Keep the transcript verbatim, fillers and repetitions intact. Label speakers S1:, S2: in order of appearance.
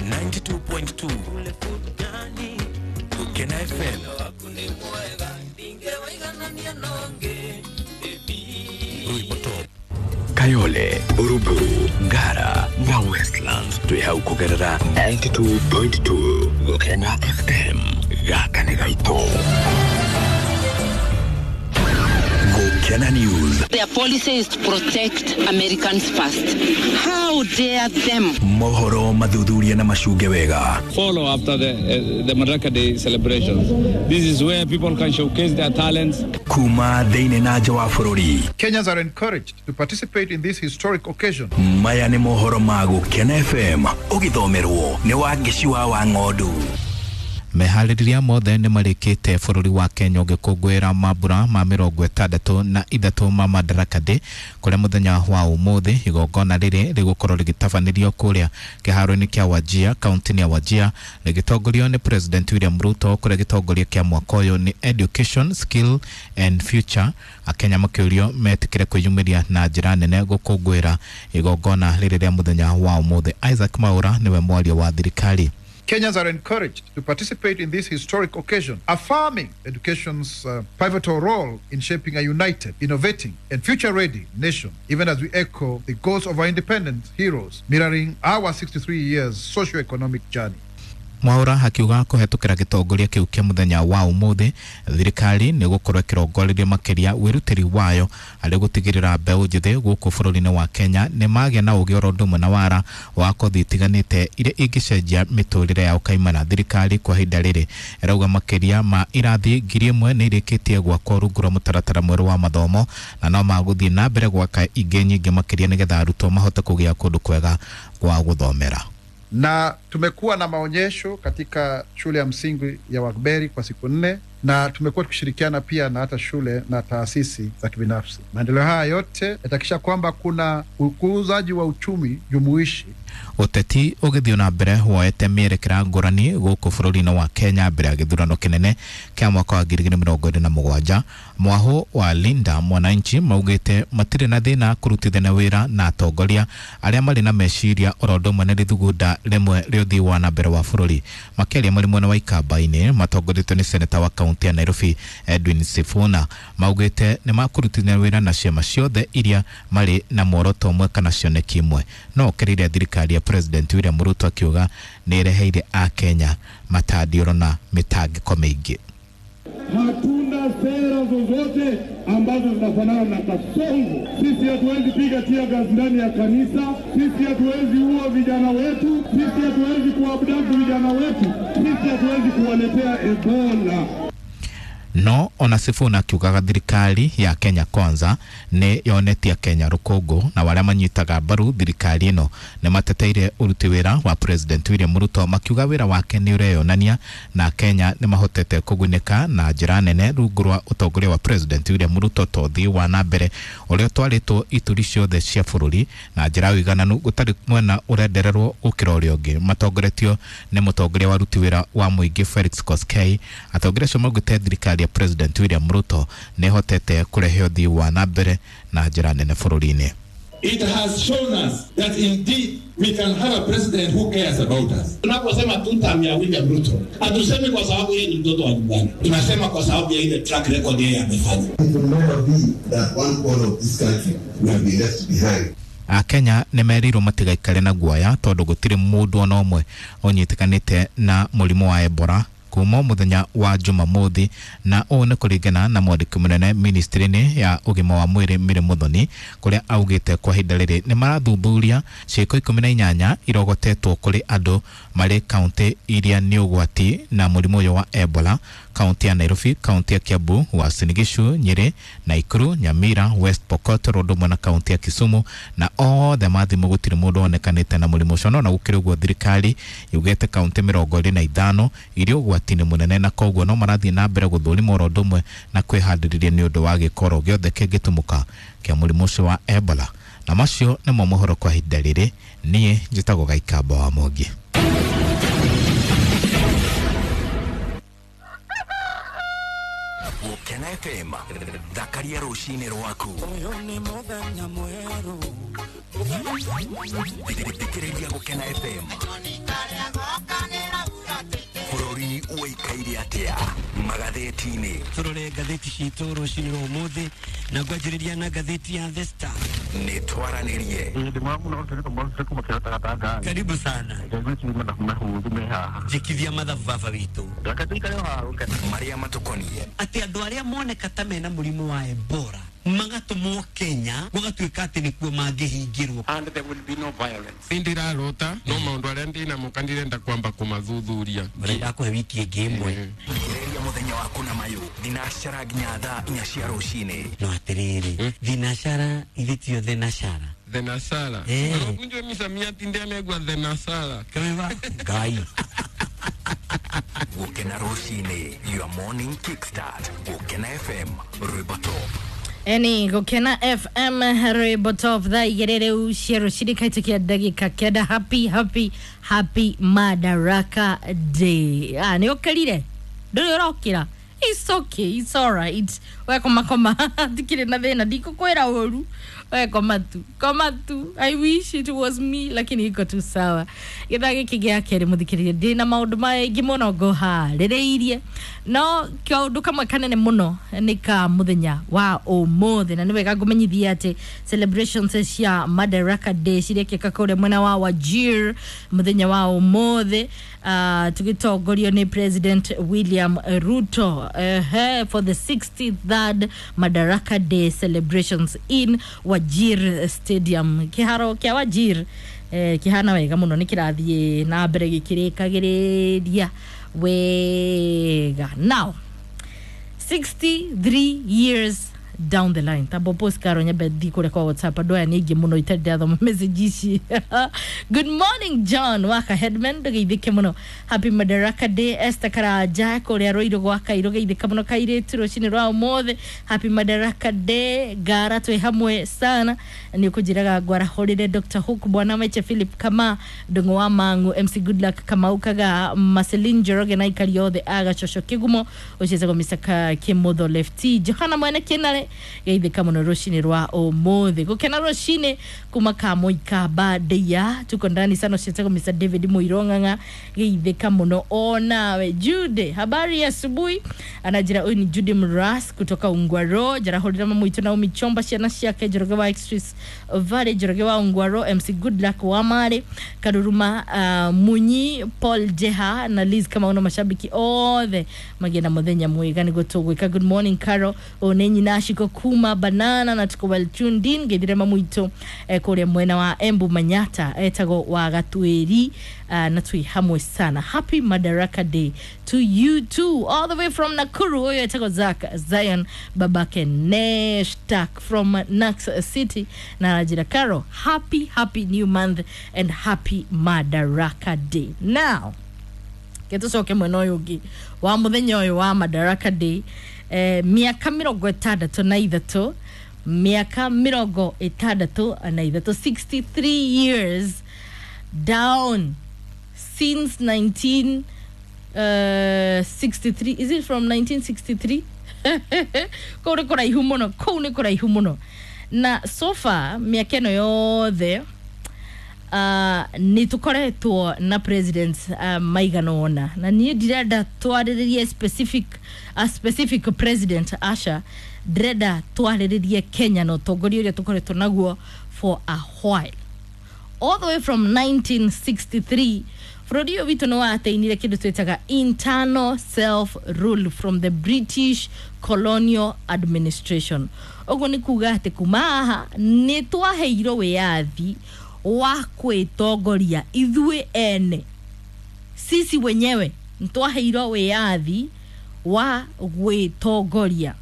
S1: ninety-two point two Gukena F M. Kayole, Buruburu, Ngara na Westlands twi hau kugerera ninety-two point two Gukena F M. Gaka nĩ gaitũ. Gukena News.
S2: Their policy is to protect Americans first. How dare them?
S1: Mohoro mathuthuria na macunge wega.
S3: Follow after the, uh, the Madaraka Day celebrations. This is where people can showcase their talents.
S1: Kuma thĩinĩ na nja wa bũrũri.
S4: Kenyans are encouraged to participate in this historic occasion.
S1: Maya nĩ mohoro ma Gukena F M ũgĩthomerwo nĩ Wangeci wa Wang'ondu.
S5: Meharĩrĩria mothe nĩ marĩkĩte bũrũri wa Kenya ũgĩkũngũĩra mambura ma mĩrongo ĩtandatũ na ithatũ ma Madaraka Day kũrĩa mũthenya wa ũmũthĩ igongona rĩrĩ rĩgũkorwo rĩgĩtabanĩrio kũrĩa kĩharo-inĩ kĩa Wajir kaunti-inĩ ya Wajir rĩgĩtongorio nĩ President William Ruto kũrĩa gĩtongoria kĩa mwaka ũyũ nĩ Education, Skill and Future. Akenya makĩũrio metĩkĩre kwĩyumĩria na njĩra nene gũkũngũĩra igongona rĩrĩ rĩa mũthenya wa ũmũthĩ. Isaac Maura nĩwe mwaria wa thirikari.
S4: Kenyans are encouraged to participate in this historic occasion, affirming education's uh, pivotal role in shaping a united, innovating, and future-ready nation, even as we echo the goals of our independent heroes, mirroring our sixty-three years socio-economic journey.
S5: Mwaura akiuga kũhetũkĩra gĩtongoria kĩu kĩa mũthenya wa ũmũthĩ thirikari nĩ gũkorwo ĩkĩrongoreria makĩria wĩrutĩri wayo harĩ gũtigĩrĩra mbeũ njĩthĩ gũkũ bũrũri-inĩ wa Kenya nĩ magĩa na ũgĩ oro ũndũ ũmwe na wara wa kothi itiganĩte iria ingĩcenjia mĩtũrĩre yao kaimana. Thirikari kwa ihinda rĩrĩ ĩrauga makĩria ma irathi ngiri ĩmwe nĩ irĩkĩtie gwakwo rungu rwa mũtaratara mwerũ wa mathomo na no magũthiĩ na mbere gwaka ingĩ nyingĩ makĩria nĩgetha arutwo mahote kũgĩa kũndũ kwega gwa gũthomera.
S4: Na tumekuwa na maonyesho katika shule ya msingi ya Wakberi kwa siku nne, na tumekuwa tukishirikiana pia na hata shule na taasisi za kibinafsi. Maendeleo haya yote yatahakikisha kwamba kuna ukuzaji wa uchumi jumuishi.
S5: Ũteti ũgĩthiĩ na mbere woete mĩerekera ngũrani gũkũ bũrũri-inĩ wa Kenya mbere ya gĩthurano kĩnene kĩa mwaka wa ngiri igĩrĩ mĩrongo ĩrĩ na mũgwanja. Mwahũ wa Linda Mwananchi maugĩte matirĩ na thĩna kũrutithania wĩra na atongoria arĩa marĩ na meciria oro ũndũ ũmwe na rĩthugunda rĩmwe rĩa ũthii wa na mbere wa bũrũri. Makĩaria marĩ mwena wa Ikamba-inĩ matongoretio nĩ seneta wa kaunti ya Nairobi Edwin Sifuna maugĩte nĩ makũrutithania wĩra na ciama ciothe iria marĩ na muoroto ũmwe kana cioneki imwe. No okĩrĩire thirikari ya President William Ruto akiuga nĩ ĩreheire Akenya matandiũro na mĩtangĩko mĩingĩ.
S6: Hatuna sera zozote ambazo zinafanana na kasongo. Sisi hatuwezi piga tear gas ndani ya kanisa, sisi hatuwezi ua vijana wetu, sisi hatuwezi kuabduct vijana wetu, sisi hatuwezi kuwaletea Ebola.
S5: No ona Sifuna akiugaga thirikari ya Kenya Kwanza nĩ yonetie Kenya rũkũngũ na arĩa manyitaga mbaru thirikari ĩno nĩ mateteire ũruti wĩra wa President William Ruto makiuga wĩra wake nĩ ũreyonania na Kenya nĩ mahotete kũgunĩka na njĩra nene rungu rwa ũtongoria wa President William Ruto to ũthii wa na mbere ũrĩa ũtwarĩtwo ituri ciothe cia bũrũri na njĩra ya ũigananu gũtarĩ mwena ũrendererwo gũkĩra ũrĩa ũngĩ. Matongoretio nĩ mũtongoria wa aruti wĩra wa mũingĩ Felix Koskei. Atongoria acio maugĩte thirikari ya President William Ruto nĩ hotete kũrehe ũthii wa na mbere na njĩra nene bũrũri-inĩ.
S6: It has shown us that indeed we can have a president who cares about us.
S7: Tunaposema two term ya William Ruto, hatusemi kwa sababu yeye ni mtoto wa nyumbani. Tunasema kwa sababu ya ile track record yeye amefanya.
S8: It will never be that one corner of this country will be left behind.
S5: Akenya nĩ merirwo matigaikare na guoya tondũ gũtirĩ mũndũ ona ũmwe ũnyitĩkanĩte na mũrimũ wa Ebola kuma mũthenya wa Jumamothi, na ũũ nĩ kũringana na mwandĩki mũnene ministry-inĩ ya ũgima wa mwĩrĩ Mary Muthoni kũrĩa augĩte kwa ihinda rĩrĩ nĩ marathuthuria ciĩko ikũmi na inyanya irogotetwo kũrĩ andũ marĩ kaunti iria nĩ ũgwati na mũrimũ ũyũ wa Ebola: kaunti ya Nairobi, kaunti ya Kiambu, Uasin Gishu, Nyeri, Nakuru, Nyamira, West Pokot, oro ũndũ ũmwe na kaunti ya Kisumu, na othe mathimwo gũtirĩ mũndũ wonekanĩte na mũrimũ ũcio. No na gũkĩrĩ ũguo thirikari yugĩte kaunti mĩrongo ĩrĩ na ithano iria ũgwati-inĩ mũnene na koguo no marathiĩ na mbere gũthũrima oro ũndũ ũmwe na kwĩhandĩrĩria nĩ ũndũ wa gĩkoro gĩothe kĩngĩtumũka kĩa mũrimũ ũcio wa Ebola. Na macio nĩmo mohoro kwa ihinda rĩrĩ. Niĩ njĩtagwo Gaikamba wa Mwangi.
S1: Gukena F M thakaria rucini rwaku. Thikĩrĩria Gukena F M. Bũrũri ũikaire atĩa magathĩti-inĩ.
S9: Tũrore ngathĩti citũ rũcinĩ rwa ũmũthĩ na ngwanjĩrĩria na ngathĩti ya The Star.
S1: Nĩ twaranĩrie.
S9: Karibu sana. Njĩkithia mathabu baba witũ.
S1: Marĩa matũkoniĩ.
S9: Atĩ andũ arĩa moneka ta mena mũrimũ wa Ebola magatũmwo Kenya gũgatuĩka atĩ nĩkuo mangĩhingĩrwo.
S10: And there will be no violence. Ndirarota no maũndũ arĩa ndĩnamo kandirenda kwamba kũmathuthuria.
S9: Ndakũhe wiki ĩngĩ ĩmwe.
S1: Thikĩrĩria mũthenya waku na mayũ thinacara nginya thaa inya cia rũcinĩ.
S9: No atĩrĩrĩ, thinacara ithe tio thenashara.
S10: Thenashara. Kunjwe misamiati ndianegwa thenashara.
S9: Kaweva Ngai.
S1: Gukena rũcinĩ, your morning kickstart. Gukena F M, rwĩmbo top.
S11: Eni Gukena F M rwĩmbo top thaa igĩrĩ rĩu cia rũcinĩ kaitũkia ndagĩka kenda. Happy happy happy Madaraka Day. Ah, nĩ ũkĩrire? Ndũrĩ ũrokĩra? It's okay, it's alright. We koma koma ndikĩrĩ na thĩna, ndikũkwĩra ũru. We koma tu, koma tu. I wish it was me, lakini iko tu sawa. Gĩthaa gĩkĩ gĩa kerĩ mũthikĩrĩria ndĩna maũndũ maingĩ mũno ngũharĩrĩirie, no kaũndũ kamwe kanene mũno nĩ ka mũthenya wa ũmũthĩ, na nĩ wega ngũmenyithia atĩ celebrations cia Madaraka Day cirekĩka kũrĩa mwena wa Wajir mũthenya wa ũmũthĩ, uh, tũgĩtongorio nĩ President William Ruto uh, for the sixty-third Madaraka Day celebrations in Wajir Stadium. Kĩharo kĩa Wajir eh, kĩhana wega mũno, nĩ kĩrathiĩ na mbere gĩkĩrĩkagĩrĩria wega. Now sixty-three years down the line, tabo post karo nyambe thi kũrĩa kwa WhatsApp andũ aya nĩ aingĩ mũno itarĩ ndathoma message ici. Good morning John Waka Headman, ndũgeithĩke mũno. Happy Madaraka Day. Esther Karanja kũrĩa Rũirũ gwa Kairũ, geithĩka mũno kairĩtu rũcinĩ rwa ũmũthĩ. Happy Madaraka Day. Ngara twĩ hamwe sana, nĩ ũkũnjĩraga ngwarahũrĩre Doctor Hook, Bwana Meche, Philip Kama, Ndũng'ũ wa Mang'u, M C Goodluck Kamau Kaga, Marceline Njoroge na aikari othe a Gacoco Kĩgumo, ũcio Mister Kimotho Lefty, Johana Mwene Kĩnare, geithĩka mũno rũcinĩ rwa ũmũthĩ. Gũkena rũcinĩ kuma Kamũika Bandeia, tuko ndani sana, ũcio Mister David Mũirong'ang'a, geithĩka mũno onawe. Jude, habari ya asubuhi, anajira huyu ni Jude Mras kutoka Ungwaro, jarahũrĩra mamu witũ Naomi Chomba, ciana ciake Njoroge wa Express Valley, Njoroge wa Ungwaro, M C Goodluck wa Mare Karuruma, uh, Munyi Paul Jeha na Liz Kamau na mashabiki othe magĩe na mũthenya mwega nĩguo tũgwĩka. Good morning Carol, one nyina Shiko kuma banana na tuko well tuned in. Geithire mamu witũ eh, kũrĩa mwena wa Embu Manyata, etagwo wa Gatwĩri, uh, na twi hamwe sana. Happy Madaraka Day to you too, all the way from Nakuru. Huyo etagwo Zak Zion babake Neshtak from Nax City na Rajira Caro. Happy happy new month and happy Madaraka Day. Now gĩtũcoke mwena ũyũ ũngĩ wa mũthenya ũyũ wa Madaraka Day. Eh, miaka mĩrongo ĩtandatũ na ithatũ, miaka mĩrongo ĩtandatũ na ithatũ, sixty-three years down since nineteen sixty-three. Is it from nineteen sixty-three? Kũu nĩ kũraihu mũno, kũu nĩ kũraihu mũno. Na so far mĩaka ĩno yothe uh, nĩ tũkoretwo na presidents uh, maigana ũna, na niĩ ndirenda twarĩrĩrie specific, a specific president, Asha, ndĩrenda twarĩrĩrie Kenya na ũtongoria ũrĩa tũkoretwo naguo for a while, all the way from nineteen sixty-three. Bũrũri ũyũ witũ nĩ wateinire kĩndũ twĩtaga internal self rule from the British colonial administration. Ũguo nĩ kuga atĩ kuma haha nĩ twaheirwo wĩyathi wa kwĩtongoria ithuĩ ene, sisi wenyewe nĩ twaheirwo wĩyathi wa gwĩtongoria.